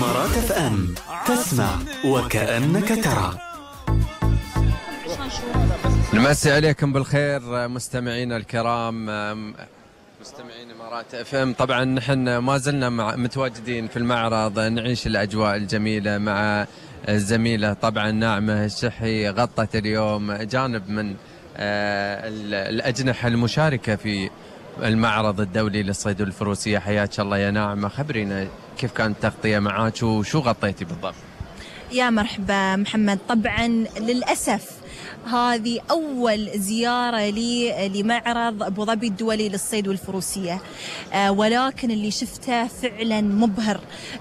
إمارات اف ام، تسمع وكأنك ترى. نمسي عليكم بالخير مستمعينا الكرام، مستمعين إمارات اف ام. طبعا نحن ما زلنا متواجدين في المعرض، نعيش الأجواء الجميلة مع الزميلة طبعا ناعمة الشحي. غطت اليوم جانب من الأجنحة المشاركة في المعرض الدولي للصيد والفروسية. حياك الله يا ناعمة، خبرينا كيف كانت التغطية معاك وشو غطيتي بالضبط؟ يا مرحبا محمد. طبعا للأسف هذه أول زيارة لي لمعرض أبو ظبي الدولي للصيد والفروسية، ولكن اللي شفته فعلا مبهر.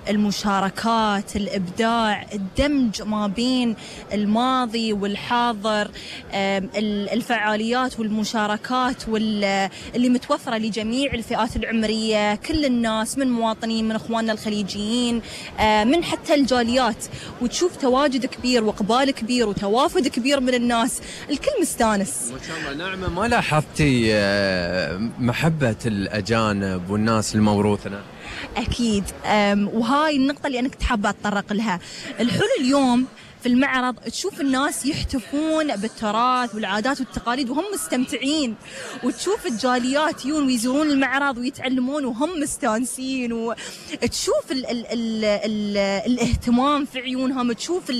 المشاركات، الإبداع، الدمج ما بين الماضي والحاضر، الفعاليات والمشاركات اللي متوفرة لجميع الفئات العمرية، كل الناس، من مواطنين، من إخواننا الخليجيين، من حتى الجاليات. وتشوف تواجد كبير وإقبال كبير وتوافد كبير من الناس، الكل مستانس ما شاء الله. ناعمة، ما لاحظتي محبة الأجانب والناس الموروثنا؟ أكيد، وهاي النقطة اللي أنا كنت حابة أتطرق لها. الحلو اليوم في المعرض تشوف الناس يحتفون بالتراث والعادات والتقاليد وهم مستمتعين، وتشوف الجاليات يجون ويزورون المعرض ويتعلمون وهم مستانسين، وتشوف ال ال ال ال الاهتمام في عيونهم، تشوف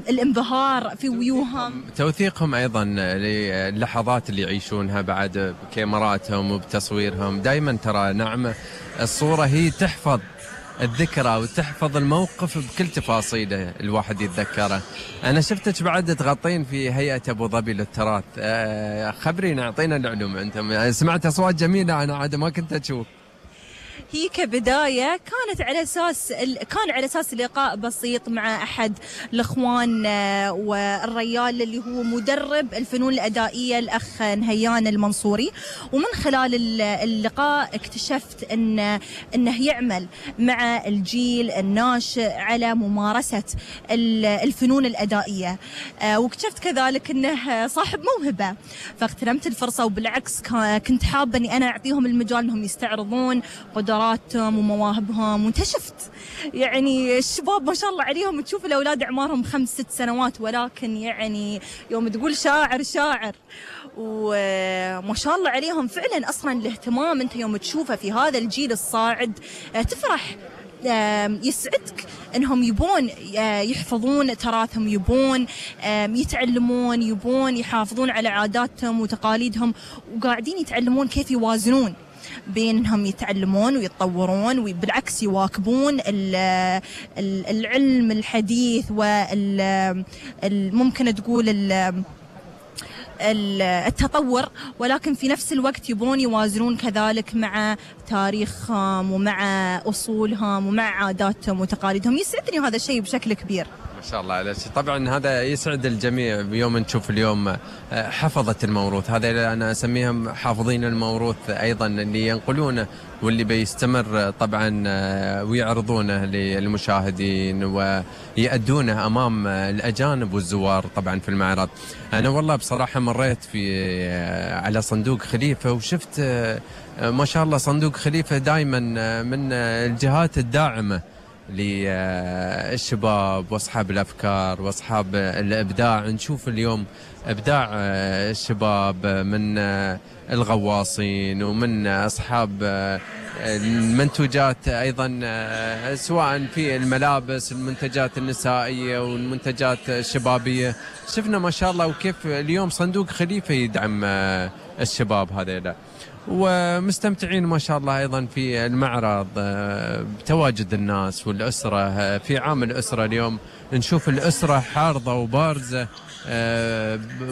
الانبهار في وجوههم، توثيقهم أيضا للحظات اللي يعيشونها بعد بكاميراتهم وبتصويرهم. دائما ترى نعمة الصورة هي تحفظ الذكرى وتحفظ الموقف بكل تفاصيله، الواحد يتذكره. أنا شفتك بعد تغطين في هيئة أبو ظبي للتراث، خبرينا، أعطينا العلوم. أنتم سمعت أصوات جميلة أنا عاد ما كنت أشوف. هي كبداية كان على أساس لقاء بسيط مع أحد الإخوان والريال اللي هو مدرب الفنون الأدائية، الأخ نهيان المنصوري. ومن خلال اللقاء اكتشفت أنه يعمل مع الجيل الناشئ على ممارسة الفنون الأدائية، واكتشفت كذلك أنه صاحب موهبة، فاغتنمت الفرصة. وبالعكس كنت حابة أني أنا أعطيهم المجال أنهم يستعرضون قدراتهم ومواهبهم. وانتشفت يعني الشباب ما شاء الله عليهم، تشوف الأولاد أعمارهم 5-6 سنوات، ولكن يعني يوم تقول شاعر وما شاء الله عليهم فعلا. أصلا الاهتمام أنت يوم تشوفه في هذا الجيل الصاعد تفرح، يسعدك انهم يبون يحفظون تراثهم، يبون يتعلمون، يبون يحافظون على عاداتهم وتقاليدهم، وقاعدين يتعلمون كيف يوازنون بين انهم يتعلمون ويتطورون وبالعكس يواكبون العلم الحديث ممكن تقول التطور، ولكن في نفس الوقت يبون يوازنون كذلك مع تاريخهم ومع أصولهم ومع عاداتهم وتقاليدهم. يسعدني هذا الشيء بشكل كبير. ما شاء الله عليك. طبعا هذا يسعد الجميع بيوم نشوف اليوم حفظة الموروث، هذا اللي أنا أسميهم حافظين الموروث أيضا، اللي ينقلونه واللي بيستمر طبعا ويعرضونه للمشاهدين ويأدونه أمام الأجانب والزوار طبعا في المعرض. أنا والله بصراحة مريت على صندوق خليفة وشفت ما شاء الله صندوق خليفة دائما من الجهات الداعمة للشباب واصحاب الافكار واصحاب الابداع. نشوف اليوم ابداع الشباب من الغواصين ومن اصحاب المنتوجات ايضا، سواء في الملابس، المنتجات النسائيه والمنتجات الشبابيه. شفنا ما شاء الله وكيف اليوم صندوق خليفه يدعم الشباب هذيلا، ومستمتعين ما شاء الله أيضا في المعرض بتواجد الناس والأسرة. في عام الأسرة اليوم نشوف الأسرة حارضة وبارزة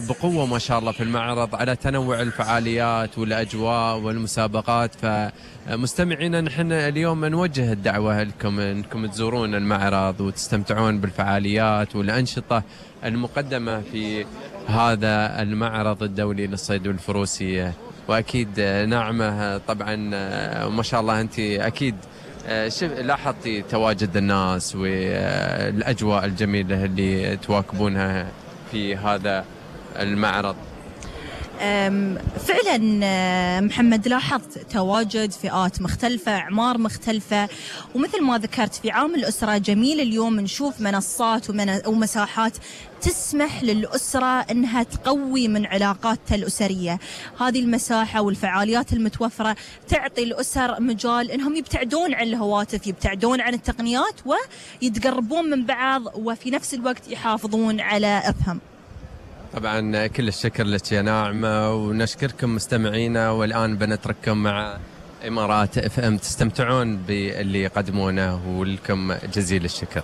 بقوة ما شاء الله في المعرض على تنوع الفعاليات والأجواء والمسابقات. فمستمعينا نحن اليوم نوجه الدعوة لكم أنكم تزورون المعرض وتستمتعون بالفعاليات والأنشطة المقدمة في هذا المعرض الدولي للصيد والفروسية. وأكيد ناعمة طبعا ما شاء الله أنت أكيد لاحظتي تواجد الناس والأجواء الجميلة اللي تواكبونها في هذا المعرض. فعلا محمد لاحظت تواجد فئات مختلفة، أعمار مختلفة، ومثل ما ذكرت في عام الأسرة جميل اليوم نشوف منصات ومساحات تسمح للأسرة أنها تقوي من علاقاتها الأسرية. هذه المساحة والفعاليات المتوفرة تعطي الأسر مجال أنهم يبتعدون عن الهواتف، يبتعدون عن التقنيات، ويتقربون من بعض، وفي نفس الوقت يحافظون على إرثهم. طبعا كل الشكر لك يا ناعمة، ونشكركم مستمعينا، والآن بنترككم مع إمارات FM، تستمتعون باللي يقدمونه، ولكم جزيل الشكر.